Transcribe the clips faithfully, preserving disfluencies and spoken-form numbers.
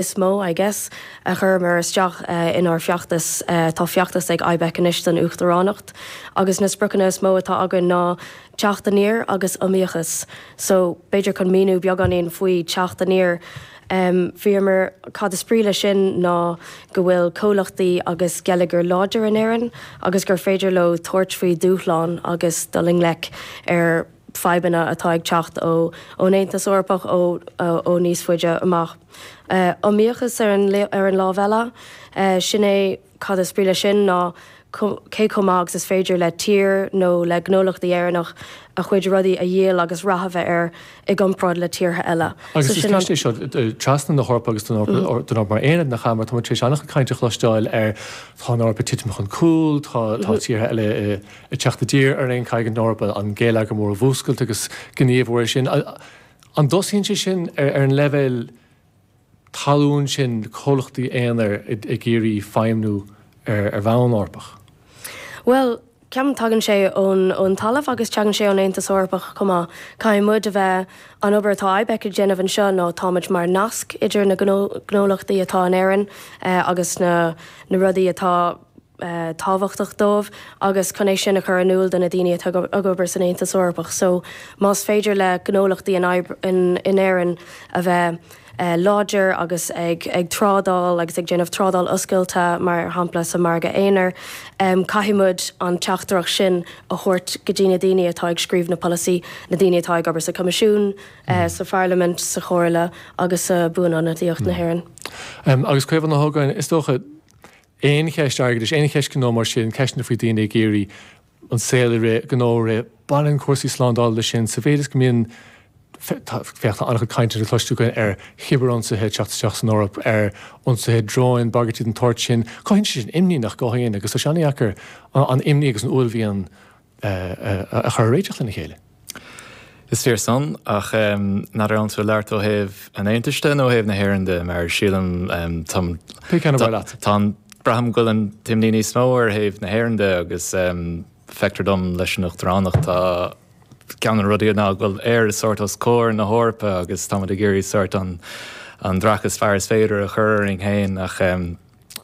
Is mó, I guess, a chuireamar isteach inár bhfeachtas. Tá feachtas ag IBEC anois don Uachtaránacht agus na spriocanna is mó atá againn ná teacht aniar agus iomaíochas. So, b'fhéidir chun míniú beagáinín faoi teacht aniar, bhíomar, cad is brí leis sin ná go bhfuil comhlachtaí agus geilleagar láidir in Éirinn agus gur féidir leo tabhairt faoi dúshlán agus dul i ngleic ar fadhbanna atá ag teacht ó ón Aontas Eorpach ó ó níos faide amach. Iomaíochas ar an ar an lámh eile, sin é cad is brí leis sin ná cé chomh maith agus is féidir le tír nó le gnólachtaí Éireannach a chuid rudaí a dhíol agus rath a bheith air i gcomparáid le tíortha eile. Agus is ceist é seo trasna na hEorpa agus don Eoraip mar aonad, nach ea, mar tá muid tar éis an-chuid cainte a chloisteáil ar tá an Eoraip ag titim chun cúil, tá tíortha eile ag teacht i dtír orainn, caithfidh an Eoraip an geilleagar mór a mhúscailt agus gníomhú air sin. An dtosaíonn sé sin ar an leibhéal talún sin, comhlachtaí aonair ag iarraidh feidhmiú ar bhonn Eorpach? Bhuel, ceapaim tagann sé ón ón talamh agus tagann sé ón Aontas Eorpach chomh maith. Caithfidh muid a bheith, an obair atá IBEC ag déanamh anseo ná táimid mar nasc idir na gnólachtaí atá in Éirinn agus na na rudaí atá tábhachtach dóibh agus chun é sin a chur in iúl do na daoine atá ag obair san Aontas Eorpach. So más féidir le gnólachtaí in in Éirinn a bheith láidir agus ag ag trádáil agus ag déanamh trádáil oscailte mar shampla sa margadh aonair, caithfidh muid an teachtaireacht sin a thabhairt go dtí na daoine atá ag scríobh na polasaí, na daoine atá ag obair sa Choimisiún, sa Pharlaimint, sa Chomhairle agus sa Buanionadaíocht na hÉireann. Agus Caomhán Ó hÓgáin, is dócha, aon cheist airgeadais, aon cheist gnó mar sin, ceisteanna faoi daoine ag iarraidh an saol a rith, gnó a rith, baineann cúrsaí slándála leis sin sa mhéid is go mbíonn, féach, tá an-chuid cainte le cloisteáil againn ar chibirionsaithe ag teacht isteach san Eoraip, ar ionsaithe dróin, bagairtí den tsórt sin. Cothaíonn sé sin imní, nach gcothaíonn? Agus tá sé an-dheacair an imní agus an uaillmhian a chur a réiteach lena chéile. Is fíor san, ach n'fheadar an bhfuil tú ag labhairt ó thaobh an Aontais de nó ó thaobh na hÉireann de, mar sílim tá Pé ceann ar mhaith leat. Tá an, braithim go bhfuil an t-imní níos mó ar thaobh na hÉireann de agus feictear dom leis an Uachtaránacht tá ceann de na rudaí ná go bhfuil Éire sórt os comhair na hEorpa agus táimid ag iarraidh sórt an an dreach is fearr is féidir a chur orainn féin ach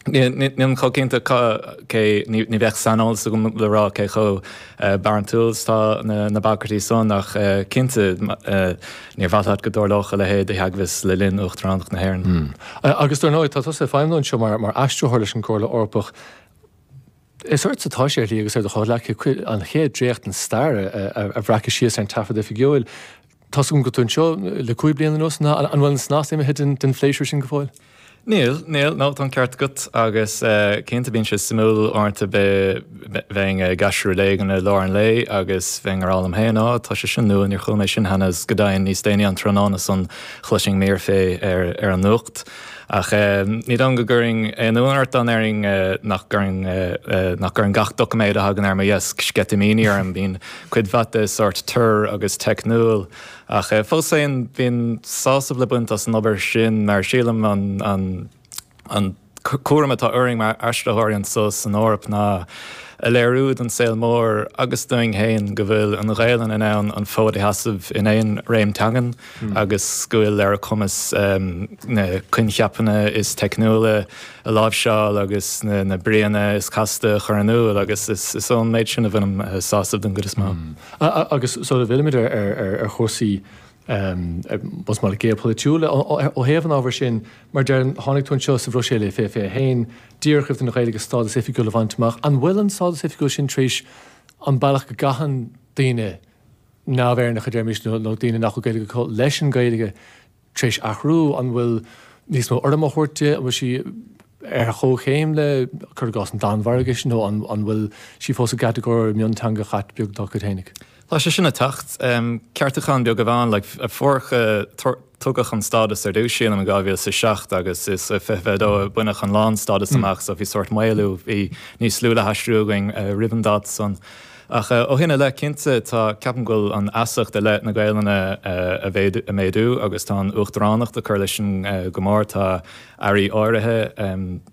Nílim chomh cinnte cé, ní bheadh saineolas agam le rá cé chomh barántúil is atá na bagairtí san ach cinnte níor mhaith leat go dtarlódh a leithéid de theagmhas le linn Uachtaránacht na hÉireann. Agus dar ndóigh, tá tusa ag feidhmiú anseo mar aistritheoir leis an gComhairle Eorpach. Is ortsa atá sé ar shlí agus ar do chomhghleacaithe an chéad dréacht den stair a bhreacadh síos ar an taifead oifigiúil. Tá's agam go bhfuil tú anseo le cúig bliana anuas, an bhfuil an snas imithe den phléisiúr sin go fóill? Níl, níl, no, tá an ceart agat agus cinnte bíonn sé suimiúil uaireanta bheinn ag aistriú rud éigin i lár an lae agus bheinn ag rá liom féin, á, tá sé sin nua, níor chuala mé sin cheana agus go deimhin níos déanaí an tráthnóna san chloisfinn mír fé ar ar an nuacht. Ach ní dóigh go gcuirfinn aon ionadh ort dá ndéarfainn nach gcuireann nach gcuireann gach doiciméad a thagann ar mo dheasc sceitimíní orm, bíonn cuid mhaith de sórt tur agus teicniúil. Ach fós féin, bíonn sásamh le baint as an obair sin mar sílim an an cúram atá orainn mar aistritheoirí anseo san Eoraip ná a léiriú don saol mór agus dúinn féin go bhfuil an Ghaelainn in ann an fód a sheasamh in aon réim teangan agus go bhfuil ar a cumas na coincheapanna is teicniúla a láimhseáil agus na bríonna is casta a chur in iúl agus is ón méid sin a bhainim sásamh den gcuid is mó. Agus sula bhfillimid ar chúrsaí más maith leat geopholaitiúla ó thaobh an ábhair sin, mar deirim, tháinig tú anseo sa Bhruiséil i fiche fiche a haon, díreach roimh don Ghaeilge stádas oifigiúil a bhaint amach. An bhfuil an stádas oifigiúil sin tar éis an bealach go gcaitheann daoine neamh-Éireannacha, deirimis, nó daoine nach bhfuil Gaeilge acu leis an Ghaeilge tar éis athrú? An bhfuil níos mó urraim á thabhairt di? An bhfuil sí ar chomhchéim le, cuir i gcás, an Danmhairgis nó an bhfuil sí fós i gcatagóir mionteanga chat beag dá cuid fhéinig? Tá sé sin ag teacht. Ceartúchán beag amháin, like, fuair, tugadh an stádas ar dtús, sílim, in dhá mhíle is a seacht agus is i fiche fiche dó a baineadh an lán-stádas amach so bhí sórt maolú, bhí níos lú le haistriú againn roimh an dáta san. Ach ó shin i leith, cinnte, tá, ceapaim go bhfuil an fheasacht i leith na Gaelainne a méadú agus tá an Uachtaránacht ag cur leis sin go mór. Tá airí áirithe,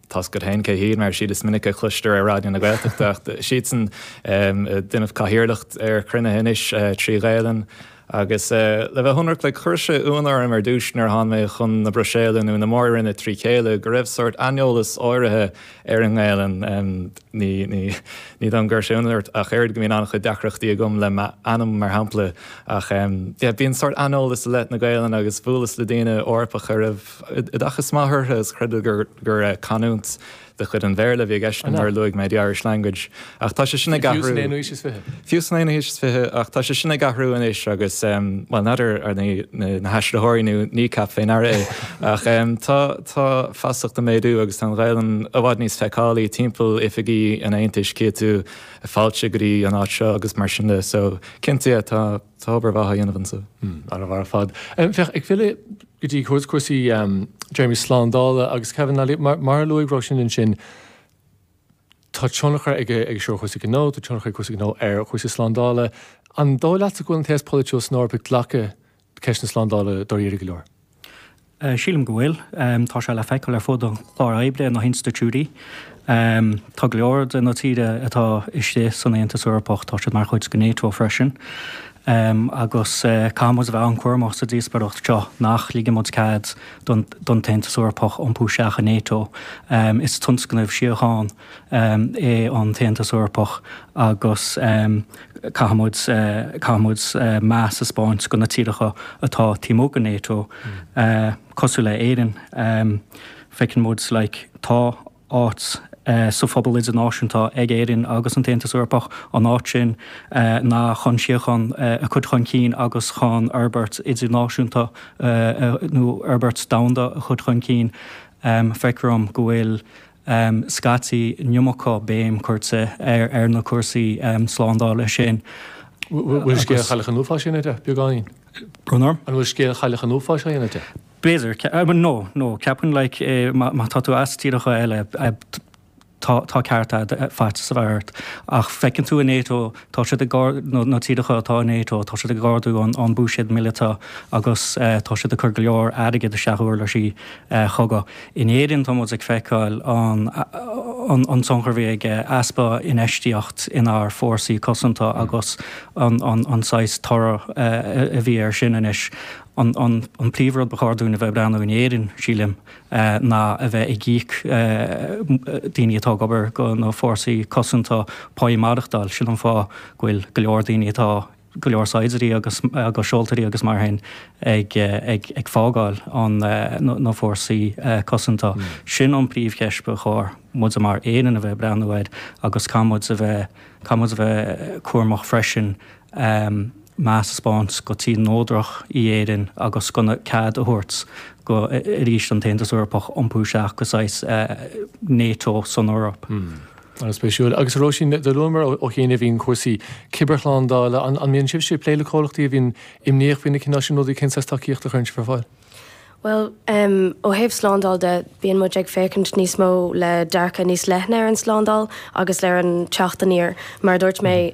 tá's agat féin cé hiad, mar is iad is minice a chloistear ar Raidió na Gaeltachta, ach siadsan ag déanamh cathaoirleacht ar chruinnithe anois trí Ghaelainn. Agus le bheith ionraic like chuir sé ionadh orm ar dtús nuair a tháinig mé chun na Bruiséile nó na Mór-Roinne trí chéile go raibh sórt aineolas áirithe ar an nGaelainn. Ní ní ní dom gur sé ionadh ort ach oiread go mbíonn an-chuid deacrachtaí agam le m'ainm mar shampla ach yeah bíonn sórt aineolas i leith na Gaelainne agus bhuaileas le daoine Eorpacha a raibh oideachas maith orthu agus chreid gur gur canúint de chuid an Bhéarla a bhí i gceist nuair a luaigh mé the Irish language. Ach tá sé sin ag athrú. Fiú san aonú haois is fiche. Fiú san aonú haois is fiche, ach tá sé sin ag athrú anois agus bhuel n'fheadar ar na haistritheoirí nó Kneecap fé ndeara é ach tá tá feasacht ag méadú agus tá an Ghaelainn i bhfad níos feiceálaí timpeall oifigí an Aontais cífidh tú fáilte go dtí an áit seo agus mar sin de so cinnte yeah tá tá obair mhaith á dhéanamh anseo. An-mhaith ar fad. Féach, ag filleadh go dtí cúrsaí téarmaí slándála agus Kevin Nally, mar a luaigh Róisín ansin, tá tionchar ag ag seo ar chúrsaí gnó, tá tionchar ag cúrsaí gnó ar chúrsaí slándála. An dóigh leatsa go bhfuil an t-aos polaitiúil san Eoraip ag glacadh ceist na slándála dáiríre go leor? Sílim go bhfuil. Tá sé le feiceáil ar fud an chláir oibre na hinstitiúidí. Tá go leor de na tíortha atá istigh san Aontas Eorpach, tá siad mar chuid de NATO freisin. Agus caithfidh muid a bheith an-chúramach sa díospóireacht seo nach ligeann muid cead don tAontas Eorpach iompú isteach i NATO. Is tionscnamh síochána é an tAontas Eorpach agus caithfidh muid caithfidh muid meas a 'speáint do na tíortha atá taobh amuigh de NATO, cosúil le Éirinn. Feiceann muid like tá áit sa phobal idirnáisiúnta ag Éirinn agus an tAontas Eorpach, an áit sin ná chun síocháin a chur chun cinn agus chun fhorbairt idirnáisiúnta nó fhorbairt domhanda a chur chun cinn. Feictear dom go bhfuil scaití an iomarca béim curtha ar ar na cúrsaí slándála sin. Bhfuil scéal Chailleach an Uafáis á dhéanamh de, beagáinín? Brón orm? An bhfuil scéal Chailleach an Uafáis á dhéanamh de? B'fhéidir. No, no, ceapaim like má tá tú as tíortha eile tá tá ceart agat faitíos a bheith ort. Ach feiceann tú i NATO, tá siad ag na tíortha atá i NATO, tá siad ag ardú an an buiséad míleata agus tá siad ag cur go leor airgid isteach i uirlisí chogaidh. In Éirinn tá muid ag feiceáil an an an tionchar a bhí ag easpa infheistíocht inár fórsaí cosanta agus an an an saghas toradh a bhí air sin anois. An an an príomhrud ba chóir dúinn a bheith ag breathnú in Éirinn, sílim, ná a bheith ag íoc daoine atá ag obair do na fórsaí cosanta páí maireachtáil. Sin an fáth go bhfuil go leor daoine atá, go leor saighdiúirí agus agus seoltóirí agus mar sin ag ag ag fágáil an na fórsaí cosanta. Sin an príomhcheist ba chóir muid mar Éirinn a bheith ag breathnú air agus caithfidh muid a bheith caithfidh muid a bheith cúramach freisin meas a 'speáint go tír neodrach í Éirinn agus gan cead a thabhairt go arís an tAontas Eorpach iompú isteach go saghas NATO san Eoraip. An-spéisiúil. Agus a Róisín, do luamar ó chianaibh cúrsaí cibearshlándála. An mbíonn sibhse ag plé le comhlachtaí a bhíonn imníoch faoi na cineál sin rudaí? Cén saghas tacaíochta a chuireann sibh ar fáil? Bhuel, ó thaobh slándáil de, bíonn muid ag féachaint níos mó le dearcadh níos leithne ar an slándáil agus ar an teacht aniar. Mar a dúirt mé,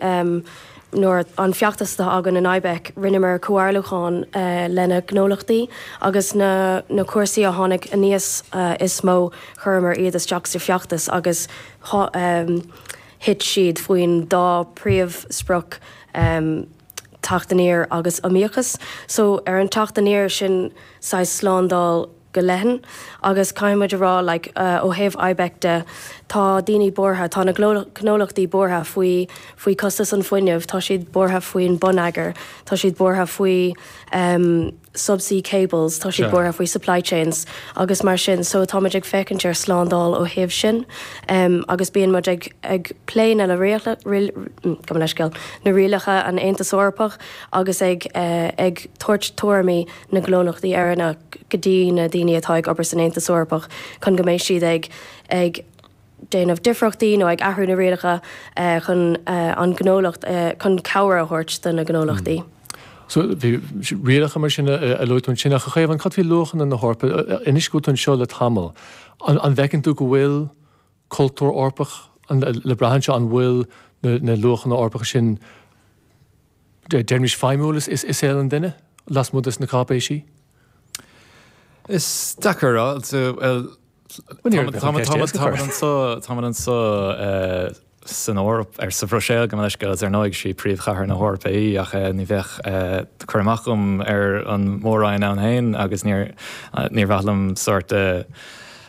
nuair an feachtas atá againn in IBEC, rinneamar comhairliúchán le na gnólachtaí agus na na cúrsaí a tháinig aníos is mó, chuireamar iad isteach sa feachtas agus thit siad faoin dá príomhsprioc, teacht aniar agus iomaíochas. So ar an teacht aniar sin saghas slándáil go leathan agus caithfidh muid a rá like ó thaobh IBEC de tá daoine buartha, tá na gnólachtaí buartha faoi faoi costas an fuinnimh, tá siad buartha faoin bonneagar, tá siad buartha faoi um subsea cables, tá siad buartha faoi supply chains agus mar sin so tá muid ag féachaint ar slándáil ó thaobh sin um agus bíonn muid ag ag plé na gabh mo leithscéal, na rialacha an Aontas Eorpach agus ag ag tabhairt tuairimí na ngnólachtaí Éireannach go dtí na daoine atá ag obair san Aontas Eorpach chun go mbeidh siad ag ag déanamh difríochtaí nó ag athrú na rialacha chun an gnólacht chun cabhair a thabhairt do na gnólachtaí. So bhí rialacha mar sin a luaigh tú ansin ach a Chaomháin, cad faoi luachanna na hEorpa? Anois go bhfuil tú anseo le tamall, an bhfeiceann tú go bhfuil cultúr Eorpach le brath anseo, an bhfuil na luachanna Eorpacha sin, deirimis, feidhmiúil i saol an duine, lasmuigh de na cáipéisí? Is deacair a rá. Táimid anseo san Eoraip ar sa Bhruiséil gabh mo leithscéal ar ndóigh sí príomhchathair na hEorpa í ach ní bheadh cur amach agam ar an mór-roinn ann féin agus níor níor mhaith liom sórt